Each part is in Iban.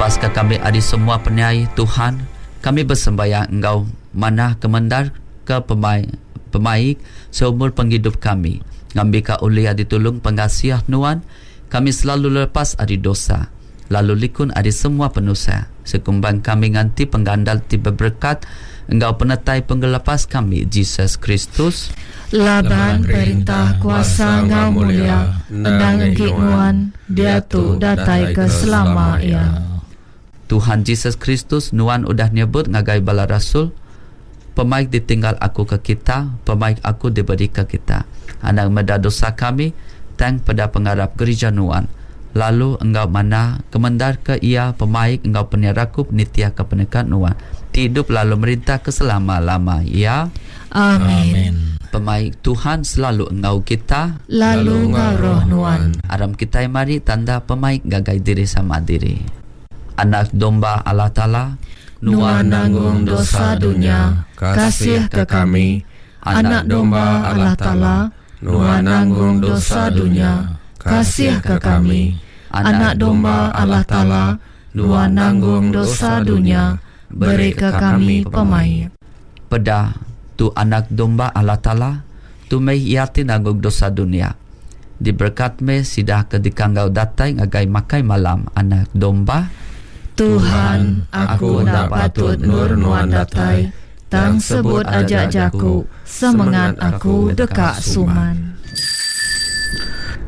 Lepaska kami ari semua penyai, Tuhan, kami besembayang enggau manah kemendarka pemai pemaik seumur pengidup kami, ngambika ulih ditulung pengasih Nuan, kami selalu lepas ari dosa, lalu likun ari semua penusah, sekumbang kami nganti penggandal ti beberekat enggau penetai Pengelepas kami, Jesus Kristus. Laban perintah, kuasa enggau mulia endang enggi Nuan, diatu datai ke selama iya. Tuhan Jesus Kristus, Nuan udah nyebut ngagai bala rasul, Pemaik ditinggal Aku ke kita, pemaik Aku diberika kita. Anang meda dosa kami, tang peda pengarap gerija Nuan, lalu enggau manah kemendarka iya pemaik enggau penyerakup nitihka peneka Nuan, ti idup lalu merintah ke selama-lama iya. Amin. Pemaik Tuhan selalu enggau kita. Lalu enggau roh nuan. Aram kitai mari tanda pemaik ngagai diri sama diri. Anak Domba Allah Taala, Nuan nanggung dosa dunya, kasihka kami. Anak Domba Allah Taala, Nuan nanggung dosa dunya, kasihka kami. Anak Domba Allah Taala, Nuan nanggung dosa dunya, berika kami pemaik. Peda, tu Anak Domba Allah Taala, tu meh Iya ti nanggung dosa dunya. Diberekat meh sida ke dikanggau datai ngagai makai malam Anak Domba. Tuhan, aku enda patut endur Nuan datai, tang sebut aja jaku, semengat aku deka suman.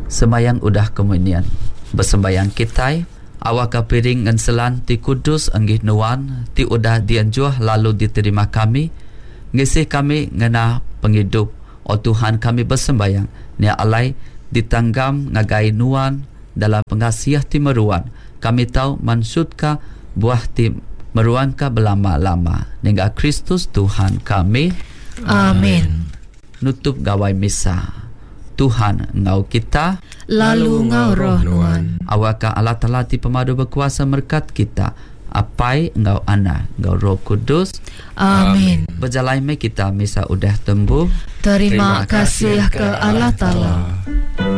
Sembayang udah komunion. Besembayang kitai, awakka piring ngenselan ti kudus enggi Nuan ti udah dienjuh lalu diterima kami, ngisi kami ngena pengidup O Tuhan kami besembayang nya alai ditanggam ngagai Nuan dalam pengasih ti meruan kami tau mansutka buah ti meruanka belama-lama nengah Kristus Tuhan kami. Amin. Nutup gawai misa. Tuhan enggau kita. Lalu enggau roh nuan. Awakka Allah Taala ti pemadu bekuasa merekat kita, Apai enggau Anak enggau Roh Kudus. Amin. Bejalai meh kita misa udah tembu. Terima kasih ke Allah Taala.